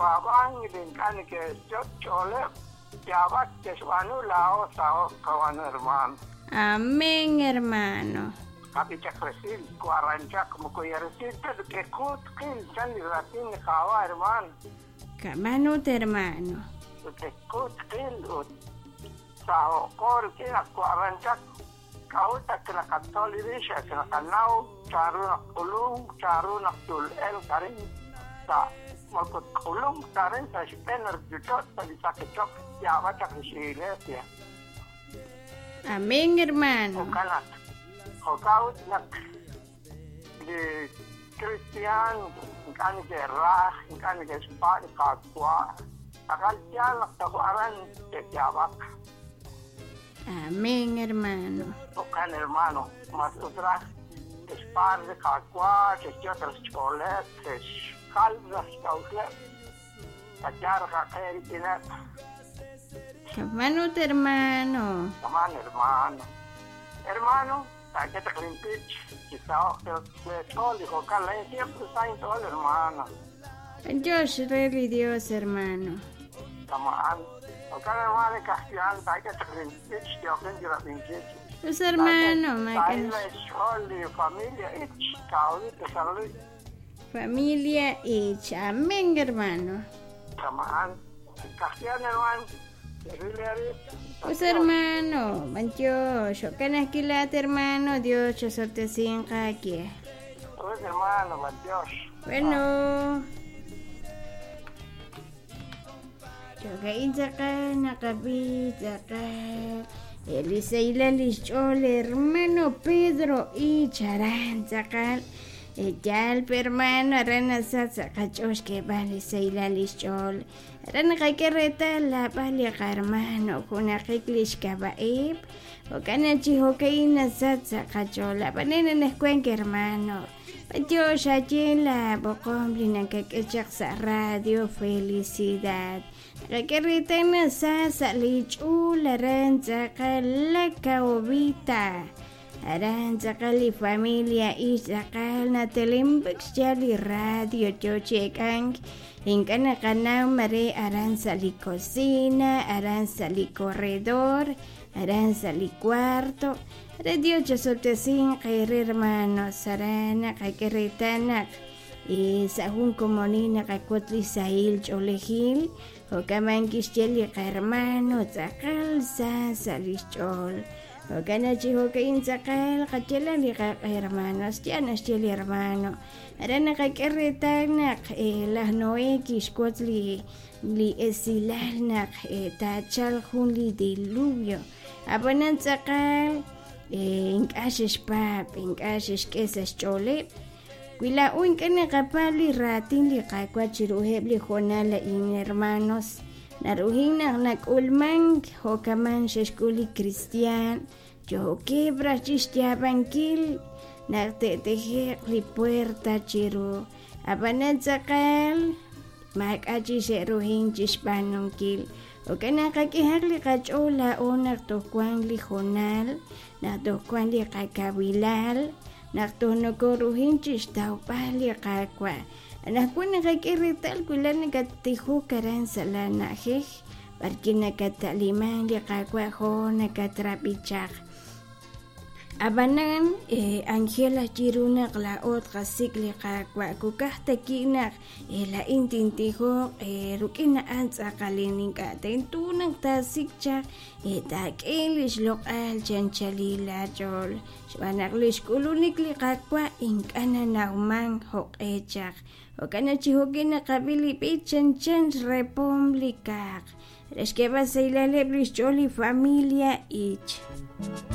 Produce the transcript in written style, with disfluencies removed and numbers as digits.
neke'paab'ank li ink'a' neke'xyot' xch'ooleb' yaab'ak ke'xb'aanu laa'o saho'k qawan hermano. Amén, hermano. Qab'ichaq resil waranchaq moko yaresil ta rik'in qil chan li raatin li Qaawa' hermano. Kamanut, hermano. Rik'in qil ut saho'qo rik'in naq waranchaq k'a'ut ak naqatzol li rix ak naqanaw chanru naq k'ulunk chanru naq tul'elq arin sa' moko k'ulunk ta arin sa' xb'een ruuchich'och' sa' li saqichok yaab'ak chaq lix iglesia. Amén, hermano. Jo'kan naq jo'kan ut naq li cristian ink'a' neke'raj ink'a' neke'xpa' li Qaawa' aqal yaal naq toj aran te'yaab'aq. Amén, hermano. Jo'kan hermano, mas ut raj te'xpa' li Qaawa' te'xyot' xch'ooleb' te'xjal raj xk'a'uxleb' qayaal qaq'e rik'ineb'. Kamanut, hermano. Kaman, hermano. Hermano, taak'e limpich, kisaho'k ch'ool li jo'kan laa'in siempre sa inch'ool, hermano. Dios re li Dios, hermano. Tamaan. Jo'kan hermano, kajtian taak'e limpich, yoqin chirab'inkil. Pues hermano, Taa'il xch'ool li familia ich, ka'awit San Luis. Familia Ich. Amén, hermano. Tamaan. Kajtian, hermano. Pues hermano, Dios, kilat hermano, Dios, sortesin aquí. Pues hermano, Dios. Bueno. Chokain saka, nakabit saka. Eliseila lixch'ol hermano Pedro y Charan saka. Yal hermano, aran sa saqach'ox keb'al liseila lixch'ol. Aran qak'e la b'al hermano, junaqik lixkab'a'ib. Jo'kan chi jo'ka'in nasat saqach'ol. Ab'anen nejkuenk hermano. Dios ayen la boqom li nakak'echaq sa radio Felicidad. Qak'e sa sa lich'ul aran tz'aqal la kaobita. Aran tz'aqal li familia ix tz'aqal natelimb'ek xya li radio chochek'ank ink'a' naqanaw mare aran sa li cocina, aran sa li corredor, aran sa li cuarto. Radio chasoltesin qere hermanos, aran qak'e sa jun komonil naqakut li sahil ch'oolejil jo'kaman kixye li qarhermano tz'aqal sa sa lixch'ool. Jo'kan chi jo'ka'in tz'aqal qachela li hermanos ya naxye li hermano. Aran naqak'e reetal naq laj Noé kixwotz li esilal naq taachal jun li diluvio. Ab'anan tz'aqal ink'a' xexpaab' ink'a' xexk'e sa xch'ooleb'. Wi laa'o ink'a' naqapaab' li raatin li Qaawa' chiruheb' li jonal la'in hermanos. Naruhin naq nak'ulmank jo'kaman xexk'ul li cristian yo'keb' raj chixyaab'ankil naq te'teje'q li puerta chiru. Ab'anan tz'aqal maak'a' chi xe'ruhin chixb'aanunkil. Jo'kan naq qak'ehaq li qach'ool laa'o naq toj wank li jonal, naq toj wank li qakawilal, naq toj nokoruhin chixtawb'al li Qaawa'. Anaqwan naqak'e reetal wi la nakatijok aran sa' la na'ajej b'arki nakata'liman li Qaawa' jo nakatrab'ichaq. Ab'anan Angela chiru naq laa'o tqasik' li Qaawa' kukaj taki' naq la'in tintijoq ruk'in a'an tz'aqalin ink'a' tento naq taasik' chaq taak'e lixloq'al chanchalil laach'ool xb'aan naq lixk'ulunik li Qaawa' ink'a' nanawman jo'q'e chaq. Jo'kan chi jo'kin naqab'i li b'ich chanchan xrepom li kaaq. Re xk'eeb'al sahilaleb' lixch'ool li familia Ich.